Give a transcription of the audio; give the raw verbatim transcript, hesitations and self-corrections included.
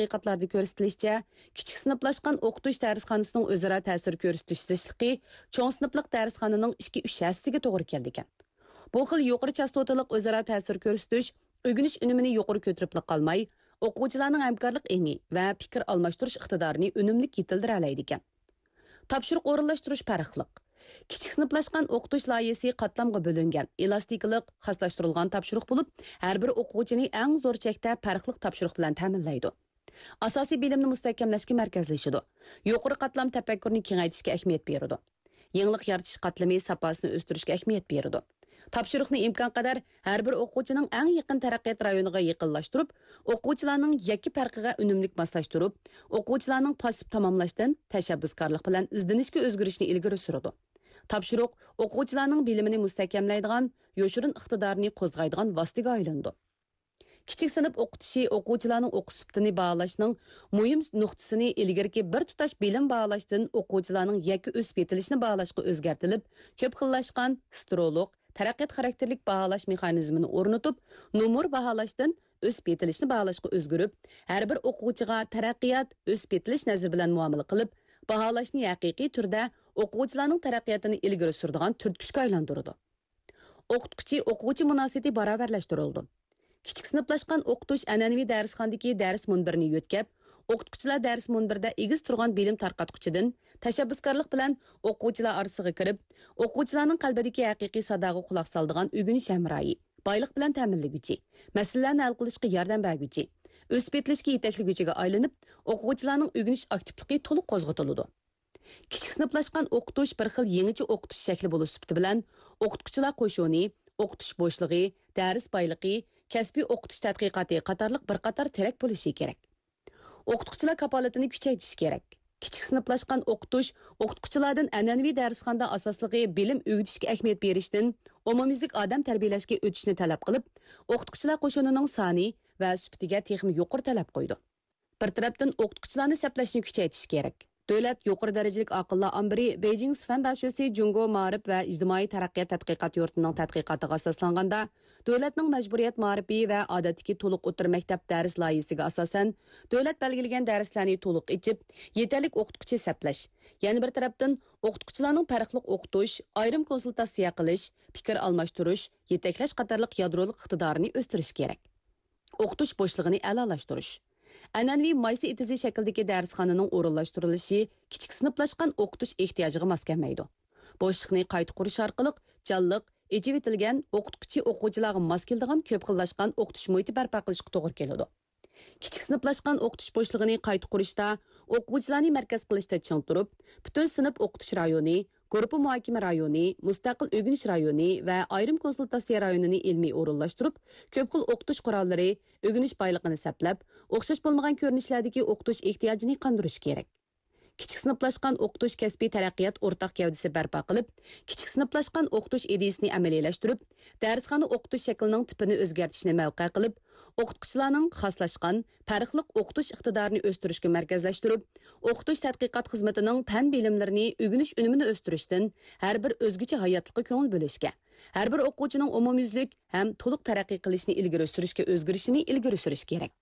تەتقىقاتلاردا كۆرسىتىلىشىچە، كىچىك سىنىپلاشقان ئوقۇتۇش دەرسخانىسىنىڭ ئۆزئارا تەسىر كۆرسىتىش زىچلىقى چوڭ سىنىپلىق دەرسخانىنىڭ ئىككى، ئۈچ ھەسسىسىگە توغرا كېلىدىكەن. بۇ خىل يۇقىرى چاستوتىلىق ئۆزئارا تەسىر كۆرسىتىش ئۆگىنىش ئۈنۈمىنى يۇقىرى كۆتۈرۈپلا قالماي، ئوقۇغۇچىلارنىڭ ھەمكارلىق ئېڭى ۋە پىكىر ئالماشتۇرۇش ئىقتىدارىنى ئۈنۈملۈك يېتىلدۈرەلەيدىكەن. تاپشۇرۇق ئورۇنلاشتۇرۇش پەرقلىق. كىچىك سىنىپلاشقان ئوقۇتۇش لايىھىسى قاتلامغا بۆلۈنگەن، ئېلاستىكىلىق، خاسلاشتۇرۇلغان تاپشۇرۇق بولۇپ، ھەر بىر ئوقۇغۇچىنى ئەڭ زور چەكتە پەرقلىق تاپشۇرۇق بىلەن تەمىنلەيدۇ. ئاساسىي بىلىمنى مۇستەھكەملەشكە مەركەزلىشىدۇ. يۇقىرى قاتلام تەپەككۇرنى كېڭەيتىشكە ئەھمىيەت بېرىدۇ. يېڭىلىق يارىتىش قاتلىمى ساپاسىنى ئۆستۈرۈشكە ئەھمىيەت بېرىدۇ. تاپشۇرۇقنى ئىمكانقەدەر ھەر بىر ئوقۇغۇچىنىڭ ئەڭ يېقىن تەرەققىيات رايونىغا يېقىنلاشتۇرۇپ، ئوقۇغۇچىلارنىڭ يەككە پەرقىگە ئۈنۈملۈك ماسلاشتۇرۇپ، ئوقۇغۇچىلارنىڭ پاسسىپ تاماملاشتىن تەشەببۇسكارلىق بىلەن ئىزدىنىشكە ئۆزگىرىشىنى ئىلگىرى سۈرىدۇ. تاپشۇرۇق ئوقۇغۇچىلارنىڭ بىلىمىنى مۇستەھكەملەيدىغان، يوشۇرۇن ئىقتىدارىنى قوزغايدىغان ۋاسىتىگە ئايلىنىدۇ. كىچىك سىنىپ ئوقۇتۇشى ئوقۇغۇچىلارنىڭ ئوقۇش سۈپىتىنى باھالاشنىڭ مۇھىم نۇقتىسىنى ئىلگىرىكى بىر تۇتاش بىلىم باھالاشتىن ئوقۇغۇچىلارنىڭ يەككە ئۆسۈپ يېتىلىشىنى باھالاشقا ئۆزگەرتىلىپ، كۆپ خىللاشقان، سترولۇق، تەرەققىيات خاراكتېرلىك باھالاش مېخانىزمىنى ئورنىتىپ، نومۇر باھالاشتىن ئۆسۈپ يېتىلىشنى باھالاشقا ئۆزگىرىپ، ھەر بىر ئوقۇغۇچىغا تەرەققىيات، ئۆسۈپ يېتىلىش نەزىرى بىلەن مۇئامىلە قىلىپ، باھالاشنى ھەقىقىي تۈردە ئوقۇغۇچىلارنىڭ تەرەققىياتىنى ئىلگىرى سۈرىدىغان تۈرتكۈچكە ئايلاندۇرىدۇ. ئوقۇتقۇچى ئوقۇغۇچى مۇناسىۋىتى باراۋەرلەشتۈرۈلىدۇ. كىچىك سىنىپلاشقان ئوقۇتۇش ئەنئەنىۋى دەرسخانىدىكى دەرس مۇنبىرىنى يۆتكەپ، ئوقۇتقۇچىلار دەرس مۇنبىرىدە ئېگىز تۇرغان بىلىم تارقاتقۇچىدىن تەشەببۇسكارلىق بىلەن ئوقۇغۇچىلار ئارىسىغا كىرىپ، ئوقۇغۇچىلارنىڭ قەلبىدىكى ھەقىقىي ساداغا قۇلاق سالىدىغان ئۆگىنىش ھەمراھى، بايلىق بىلەن تەمىنلىگۈچى، مەسىلىلەرنى ھەل قىلىشقا ياردەم بەرگۈچى، ئۆسۈپ يېتىلىشكە يېتەكلىگۈچىگە ئايلىنىپ، ئوقۇغۇچىلارنىڭ ئۆگىنىش ئاكتىپلىقى تولۇق قوزغىتىلىدۇ. كىچىك سىنىپلاشقان ئوقۇتۇش بىر خىل يېڭىچە ئوقۇتۇش شەكلى بولۇش سۈپىتى بىلەن، ئوقۇتقۇچىلار قوشۇنى، ئوقۇتۇش بوشلۇقى، دەرس بايلىقى، كەسپىي ئوقۇتۇش تەتقىقاتى قاتارلىق بىر قاتار تىرەك بولۇشى كېرەك. ئوقۇتقۇچىلار كاپالىتىنى كۈچەيتىش كېرەك. كىچىك سىنىپلاشقان ئوقۇتۇش ئوقۇتقۇچىلاردىن ئەنئەنىۋى دەرسخانىدا ئاساسلىقى بىلىم ئۆگىتىشكە ئەھمىيەت بېرىشتىن، ئومۇميۈزلۈك ئادەم تەربىيەلەشكە ئۆتۈشنى تەلەپ قىلىپ، ئوقۇتقۇچىلار قوشۇنىنىڭ سانى ۋە سۈپىتىگە تېخىمۇ يۇقىرى تەلەپ قويىدۇ. بىر تەرەپتىن، ئوقۇتقۇچىلارنى سەپلەشنى كۈچەيتىش كېرەك. دۆلەت يۇقىرى دەرىجىلىك ئاقىللار ئامبىرى بېيجىڭ سۈفەن داشۆسى جۇڭگو مائارىپ ۋە ئىجتىمائىي تەرەققىيات تەتقىقات يۇرتىنىڭ تەتقىقاتىغا ئاساسلانغاندا، دۆلەتنىڭ مەجبۇرىيەت مائارىپى ۋە ئادەتتىكى تولۇق ئوتتۇرا مەكتەپ دەرس لايىھىسىگە ئاساسەن، دۆلەت بەلگىلىگەن دەرسلەرنى تولۇق ئېچىپ، يېتەرلىك ئوقۇتقۇچى سەپلەش، يەنە بىر تەرەپتىن، ئوقۇتقۇچىلارنىڭ پەرقلىق ئوقۇتۇش، ئايرىم كونسۇلتاتسىيە قىلىش، پىكىر ئالماشتۇرۇش، يېتەكلەش قاتارلىق يادرولۇق ئىقتىدارىنى ئۆستۈرۈش كېرەك. ئوقۇتۇش بوشلۇقىنى ئەلالاشتۇرۇش. ئەنئەنىۋى مايسا ئېتىزى شەكلىدىكى دەرسخانىنىڭ ئورۇنلاشتۇرۇلۇشى كىچىك سىنىپلاشقان ئوقۇتۇش ئېھتىياجىغا ماس كەلمەيدۇ. بوشلۇقنى قايتا قۇرۇش ئارقىلىق جانلىق، ئېچىۋېتىلگەن، ئوقۇتقۇچى ئوقۇغۇچىلارغا ماس كېلىدىغان كۆپ خىللاشقان ئوقۇتۇش مۇھىتى بەرپا قىلىشقا توغرا كېلىدۇ. كىچىك سىنىپلاشقان ئوقۇتۇش بوشلۇقىنى قايتا قۇرۇشتا ئوقۇغۇچىلارنى مەركەز قىلىشتا چىڭ تۇرۇپ، پۈتۈن سىنىپ ئوقۇتۇش رايونى، گۇرۇپپا مۇھاكىمە رايونى، مۇستەقىل ئۆگىنىش رايونى ۋە ئايرىم كونسۇلتاتسىيە رايونىنى ئىلمىي ئورۇنلاشتۇرۇپ، كۆپ خىل ئوقۇتۇش قوراللىرى، ئۆگىنىش بايلىقىنى سەپلەپ، ئوخشاش بولمىغان كۆرۈنۈشلەردىكى ئوقۇتۇش ئېھتىياجىنى قاندۇرۇش كېرەك. كىچىك سىنىپلاشقان ئوقۇتۇش كەسپىي تەرەققىيات ئورتاق گەۋدىسى بەرپا قىلىپ، كىچىك سىنىپلاشقان ئوقۇتۇش ئىدىيىسىنى ئەمەلىيلەشتۈرۈپ، دەرسخانا ئوقۇتۇش شەكلىنىڭ تىپىنى ئۆزگەرتىشنى مەۋقە قىلىپ، ئوقۇتقۇچىلارنىڭ خاسلاشقان، پەرقلىق ئوقۇتۇش ئىقتىدارىنى ئۆستۈرۈشكە مەركەزلەشتۈرۈپ، ئوقۇتۇش تەتقىقات خىزمىتىنىڭ پەن بىلىملىرىنى ئۆگىنىش ئۈنۈمىنى ئۆستۈرۈشتىن ھەر بىر ئۆزگىچە ھاياتلىققا كۆڭۈل بۆلۈشكە، ھەر بىر ئوقۇغۇچىنىڭ ئومۇميۈزلۈك ھەم تولۇق تەرەققىي قىلىشىنى ئىلگىرى سۈرۈشكە ئۆزگىرىشىنى ئىلگىرى سۈرۈش كېرەك.